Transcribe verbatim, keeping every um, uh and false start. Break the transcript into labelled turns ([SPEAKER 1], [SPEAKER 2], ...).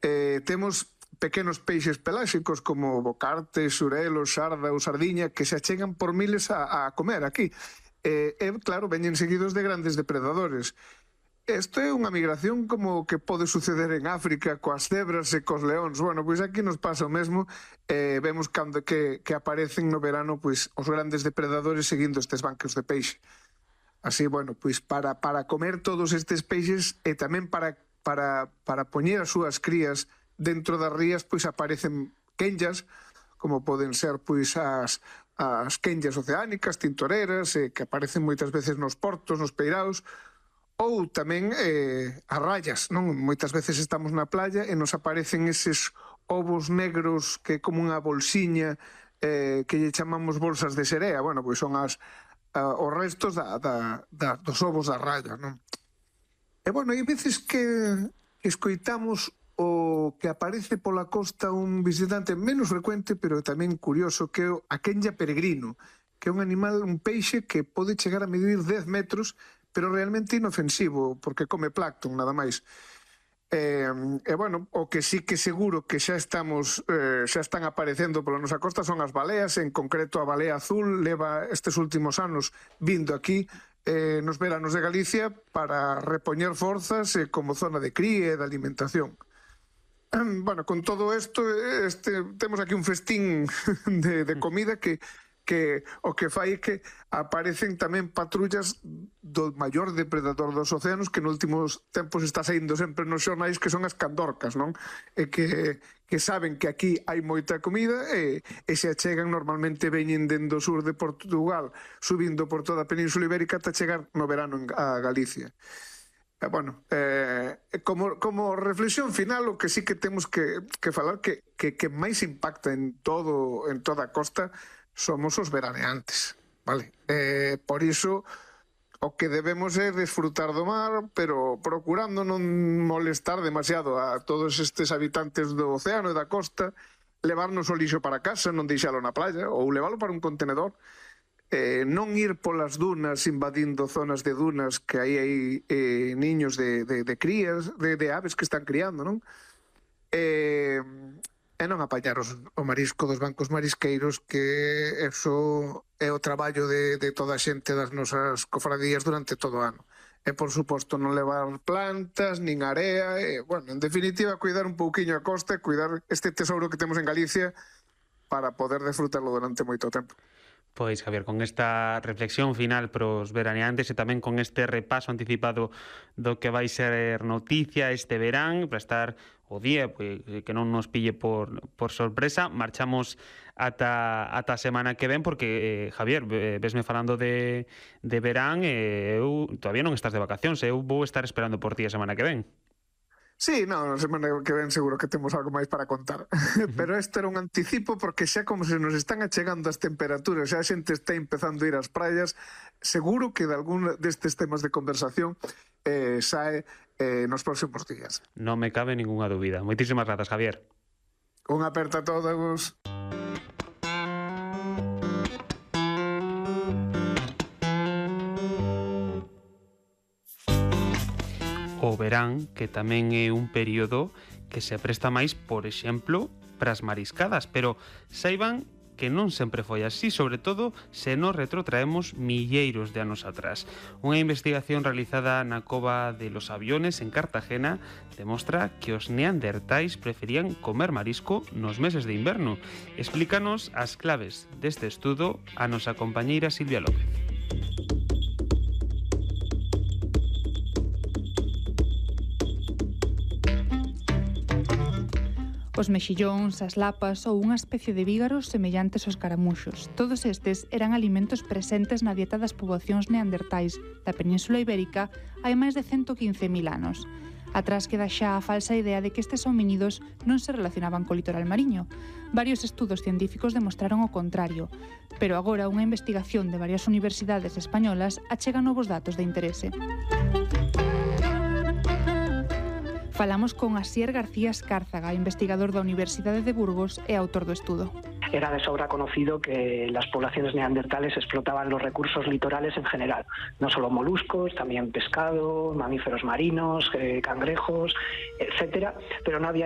[SPEAKER 1] eh, temos pequenos peixes peláxicos como bocarte, xurelo, xarda ou sardiña que se achegan por miles a, a comer aquí. E, eh, claro, veñen seguidos de grandes depredadores. Isto é unha migración como que pode suceder en África coas cebras e cos leóns. Bueno, pois aquí nos pasa o mesmo. Eh, vemos cando que, que aparecen no verano pois os grandes depredadores seguindo estes bancos de peixe. Así, bueno, pois para, para comer todos estes peixes e tamén para, para, para poñer as súas crías dentro das rías, pois aparecen quenllas, como poden ser pois as, as quenllas oceánicas, tintoreras, eh, que aparecen moitas veces nos portos, nos peiraos, ou tamén eh, as rayas, non? Moitas veces estamos na playa e nos aparecen eses ovos negros que é como unha bolsiña eh, que lle chamamos bolsas de serea. Bueno, pois son as, uh, os restos da, da, da, dos ovos da raya, non? E bueno, hai veces que escoitamos o que aparece pola costa un visitante menos frecuente, pero tamén curioso, que é o a quenlla peregrino, que é un animal, un peixe que pode chegar a medir dez metros, pero realmente inofensivo, porque come plancton, nada máis. E, e bueno, o que sí que seguro que xa estamos, eh, xa están aparecendo pola nosa costa son as baleas, en concreto a balea azul leva estes últimos anos vindo aquí eh, nos veranos de Galicia para repoñer forzas eh, como zona de cría e de alimentación. Bueno, con todo isto, este, temos aquí un festín de, de comida que que o que fai é que aparecen tamén patrullas do maior depredador dos océanos que nos últimos tempos está saindo sempre nos xornais, que son as candorcas, non? E que, que saben que aquí hai moita comida e, e se achegan, normalmente veñen dende o sur de Portugal, subindo por toda a Península Ibérica ata chegar no verano a Galicia. E, bueno, eh, como, como reflexión final, o que sí que temos que, que falar que, que, que máis impacta en todo en toda a costa somos os veraneantes, vale? Eh, por iso, o que debemos é desfrutar do mar, pero procurando non molestar demasiado a todos estes habitantes do océano e da costa, levarnos o lixo para casa, non deixalo na playa, ou levalo para un contenedor, eh, non ir polas dunas invadindo zonas de dunas que aí hai eh, niños de, de, de crías, de, de aves que están criando, non? Eh... e non apañar os, o marisco dos bancos marisqueiros, que eso é o traballo de, de toda a xente das nosas cofradías durante todo o ano. E, por suposto, non levar plantas, nin area, e, bueno, en definitiva, cuidar un pouquiño a costa e cuidar este tesouro que temos en Galicia para poder disfrutarlo durante moito tempo.
[SPEAKER 2] Pois, Javier, con esta reflexión final pros veraneantes e tamén con este repaso anticipado do que vai ser noticia este verán, para estar o día, pois, que non nos pille por, por sorpresa, marchamos ata, ata a semana que ven, porque, eh, Javier, vesme falando de, de verán, e eu todavía non estás de vacacións, eu vou estar esperando por ti a semana que ven.
[SPEAKER 1] Sí, non, a semana que ven seguro que temos algo máis para contar. Pero este era un anticipo, porque xa como se nos están achegando as temperaturas, xa a xente está empezando a ir ás praias, seguro que de algún destes temas de conversación eh, sae eh, nos próximos días.
[SPEAKER 2] Non me cabe ninguna dúbida. Moitísimas grazas, Javier.
[SPEAKER 1] Un aperta a todos.
[SPEAKER 2] O verán, que tamén é un período que se presta máis, por exemplo, pras mariscadas, pero saiban que non sempre foi así, sobre todo se nos retrotraemos milleiros de anos atrás. Unha investigación realizada na Cova de los Aviones, en Cartagena, demostra que os neandertais preferían comer marisco nos meses de inverno. Explícanos as claves deste estudo a nosa compañeira Silvia López.
[SPEAKER 3] Os mexillóns, as lapas ou unha especie de vígaros semellantes aos caramuxos. Todos estes eran alimentos presentes na dieta das poboacións neandertais da Península Ibérica hai máis de ciento quince mil anos. Atrás queda xa a falsa idea de que estes homínidos non se relacionaban co litoral mariño. Varios estudos científicos demostraron o contrario, pero agora unha investigación de varias universidades españolas achega novos datos de interese. Falamos con Asier García Escárzaga, investigador da Universidade de Burgos e autor do estudo.
[SPEAKER 4] Era de sobra conocido que las poblaciones neandertales explotaban los recursos litorales en general, no solo moluscos, también pescado, mamíferos marinos, eh, cangrejos, etcétera, pero no había